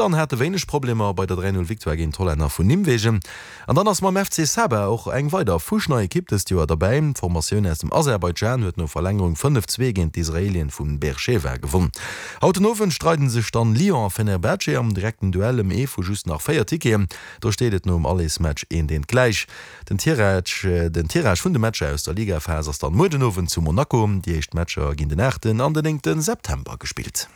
Dann hate wéineg Problemer bei der 3 0 Victoire géint d'Hollänner vun Nimwegen. An dann ass mam FC Sabah och eng weider fuschnei Ekipp dëst Joer derbäi. D'Formatioun aus dem Aserbaidschan huet no Verlängerung 5, 2 géint d'Israelien vu Beersheva gewonn. Haut den Owend streiden sech dann Lyon a Fenerbahce am direkten Duell ëm ee vu just nach 4 Ticketen. Do steet et nom Allersmatch eent eent gläich. Den Tirage den Tirage vun de Matcher aus der Ligaphas ass dann muer den Owend zu Monaco. Déi éischt Matcher ginn den aachten an den néngte September gespillt.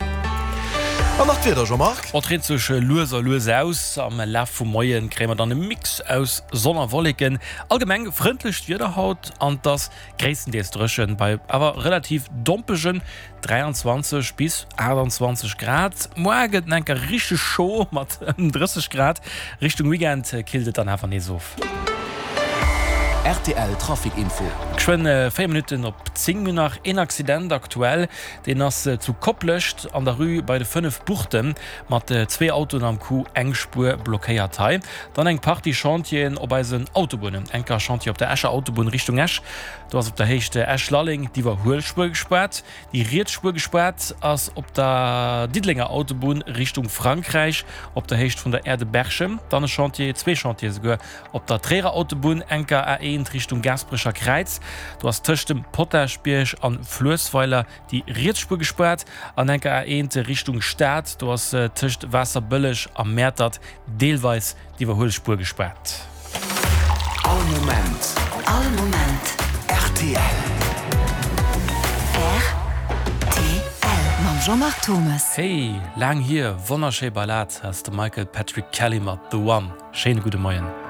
An nach d'Wieder, Jean-Marc? Et reet sech lues a lues aus. Am Laf vum Moie kréie mer dann e Mix aus Sonn a Wolleken. Allgemeng frëndlecht Wieder haut an et ass gréisstendeels dréchen bei awer relativ dompegen 23 bis 28 Grad. Moar gëtt en enker richteg scho mat ëm 30 Grad. Richtung Weekend killt et dann awer nees of. Rtl Trafic Info. Geschwënn 4 Minutten op 10. Mir hunn nach een Accident aktuell, deen ass zu Koplescht an der Rue bei de 5 Buchten mat zwee Autoen am Coup, eng Spuer blockéiert hei. Dann eng Partie Chantieren op eisen Autobunnen. Enker Chantier op der Escher Autobunn Richtung Esch. Do ass op der Héicht Esch-Lalleng d'Iwwerhuelspuer gespaart. Déi riets Spuer gespaart ass op der Diddelenger Autobunn Richtung Frankräich op der Héicht vun der Aire de Berchem. Dann e Chantier, zwee Chantiere souguer, op der Tréierer Autobunn, enker A1 Richtung Gaasperecher Kräiz. Do ass tëscht dem Potaschbierg an Fluessweiler déi riets Spuer gespaart. An enker A1 Richtung Stad, do ass tëscht Waasserbëlleg a Mäertert deelweis D'Iwwerhuelspuer gespaart. All Moment. All Moment. Rtl. Rtl. Mam Jean-Marc Thomes. Hey, laang hier, wonnerschéi Ballad ass de Michael Patrick Kelly mat The One. Schéine gudde Moien.